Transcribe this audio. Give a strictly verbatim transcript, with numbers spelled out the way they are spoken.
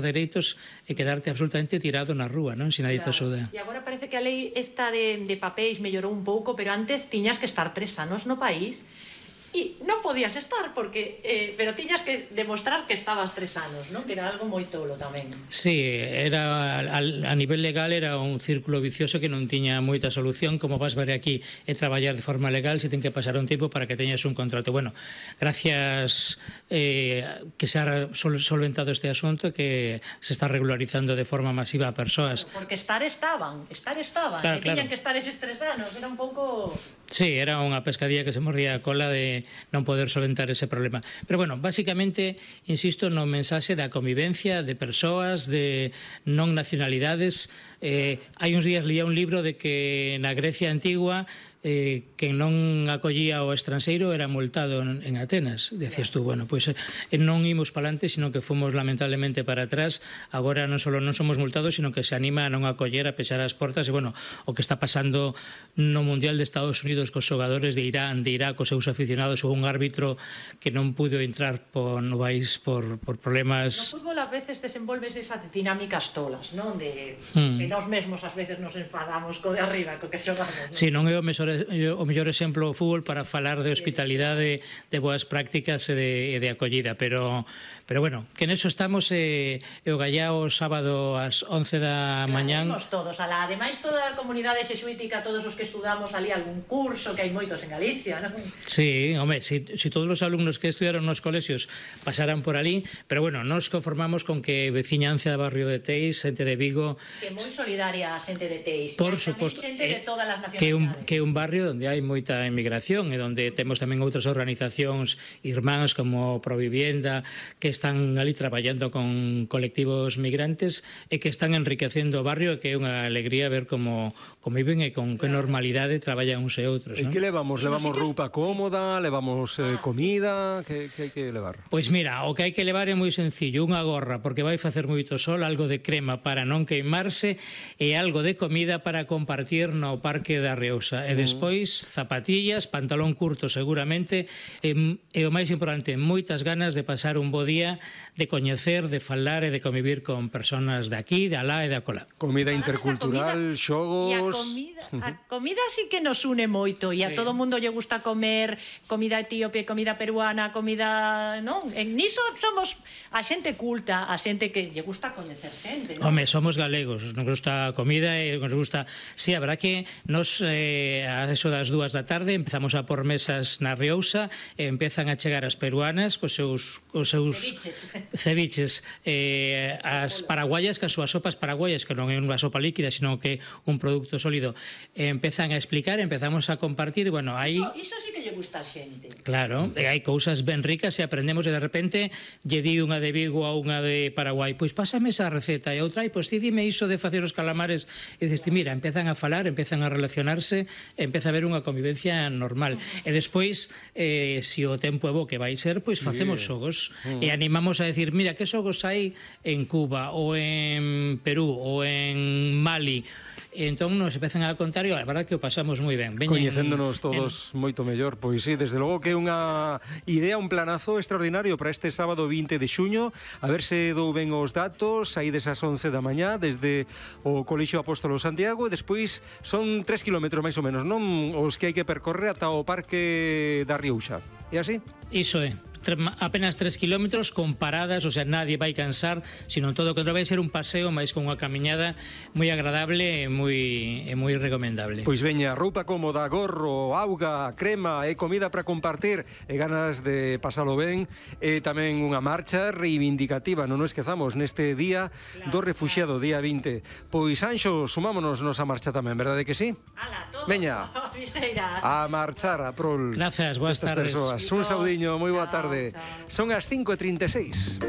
dereitos e quedarte absolutamente tirado na rúa, non? Se nadie te axuda. E agora parece que a lei esta de, de papéis mellorou un pouco, pero antes tiñas que estar tres anos no país e non podías estar, porque eh, pero tiñas que demostrar que estabas tres anos, non? Que era algo moi tolo tamén. Sí, era, a, a nivel legal era un círculo vicioso que non tiña moita solución. Como vas ver aquí, é traballar de forma legal, se ten que pasar un tempo para que teñas un contrato. Bueno, gracias eh, que se ha sol, solventado este asunto, que se está regularizando de forma masiva a persoas. Porque estar estaban, estar estaban, claro, que tiñan claro. que estar eses tres anos, era un pouco... Sí, era unha pescadilla que se mordía a cola de non poder solventar ese problema. Pero, bueno, basicamente, insisto no mensaxe da convivencia de persoas, de non nacionalidades. Eh, hai uns días leía un libro de que na Grecia antigua eh, que non acollía ao estranxeiro era multado en, en Atenas. Decías tú, bueno, pois pues, eh, non imos para adelante, sino que fomos lamentablemente para atrás. Agora non só non somos multados, sino que se anima a non acoller, a pechar as portas. E, bueno, o que está pasando no Mundial de Estados Unidos cos xogadores de Irán, de Irak, os seus aficionados, ou un árbitro que non pudo entrar por, no país por, por problemas... No fútbol a veces desenvolves esas dinámicas tolas, non? De mm. que nós mesmos ás veces nos enfadamos co de arriba, co que xogamos, non? Si, sí, non é o mellor, o mellor exemplo o fútbol para falar de hospitalidade, de boas prácticas e de, e de acollida, pero, pero bueno, que neso estamos e, e o Gallao sábado ás once da mañán... Claro, todos, alá, ademais toda a comunidade xexuítica, todos os que estudamos ali algún curso, que hai moitos en Galicia, non? Sí, home, si, si todos os alumnos que estudiaron nos colexios pasaran por ali, pero bueno, nos conformamos con que veciñanza do barrio de Teis, xente de Vigo... Que moi solidaria a xente de Teis, por hai suposto, xente de todas as nacionalidades. Que un, que un barrio onde hai moita emigración e onde temos tamén outras organizacións irmáns como Provivienda, que están ali traballando con colectivos migrantes e que están enriquecendo o barrio, e que é unha alegría ver como, como viven e con que normalidade traballan uns e outros. E que levamos? Levamos roupa cómoda, levamos eh, comida, que, que hai que levar? Pois mira, o que hai que levar é moi sencillo, unha gorra porque vai facer moito sol, algo de crema para non queimarse e algo de comida para compartir no Parque da Reusa. E despois zapatillas, pantalón curto seguramente e, e o máis importante, moitas ganas de pasar un bo día, de coñecer, de falar e de convivir con persoas de aquí, de alá e de acolá. Comida intercultural, xogos... E a comida, a comida sí que nos une moito e a todo mundo lle gusta comer comida etíope, comida peruana, comida, non? En niso somos a xente culta, a xente que lle gusta coñecer xente, non? Home, somos galegos, nos gusta a comida e nos gusta... Sí, habrá que nos, eh, a eso das dúas da tarde, empezamos a por mesas na Riousa e empezan a chegar as peruanas cos seus, cos seus ceviches, ceviches eh, as paraguayas, que as súas sopas paraguayas, que non é unha sopa líquida, sino que un produto sólido, eh, empezan a explicar, empezamos a compartir, bueno, aí... Iso, iso sí que lle gusta a xente. Claro, e hai cousas ben ricas e aprendemos, e de repente lle di unha de Vigo a unha de Paraguai, pois pásame esa receta, e outra, e pois ti dime iso de facer os calamares, e dices, mira, empezan a falar, empezan a relacionarse, empeza a haber unha convivencia normal. E despois, eh, se o tempo é bo que vai ser, pois facemos xogos, e animamos a decir, mira, que xogos hai en Cuba, ou en Perú, ou en Mali, e entón nos empezan a contar e a verdade que o pasamos moi ben. Veñen, coñecéndonos todos en... moito mellor. Pois sí, desde logo que é unha idea, un planazo extraordinario para este sábado vinte de xuño. A ver se dou ben os datos. Aí desas once da mañá desde o Colexio Apóstolo Santiago, e despois son tres kilómetros máis ou menos, non? Os que hai que percorrer ata o Parque da Riouxa. É así? Iso é. Apenas tres kilómetros con paradas, o sea, nadie vai cansar, sino todo o que vai ser un paseo máis con unha camiñada moi agradable e moi, e moi recomendable. Pois veña, roupa cómoda, gorro, auga, crema e comida para compartir e ganas de pasalo ben, e tamén unha marcha reivindicativa, non nos esquezamos, neste día do refuxiado, día vinte. Pois, Anxo, sumámonos nos a marcha tamén, verdade que sí? Ala, todo. Veña, a marchar a prol. Gracias, boas tardes. Un saudiño, moi boa tarde. Son as cinco e trinta e seis.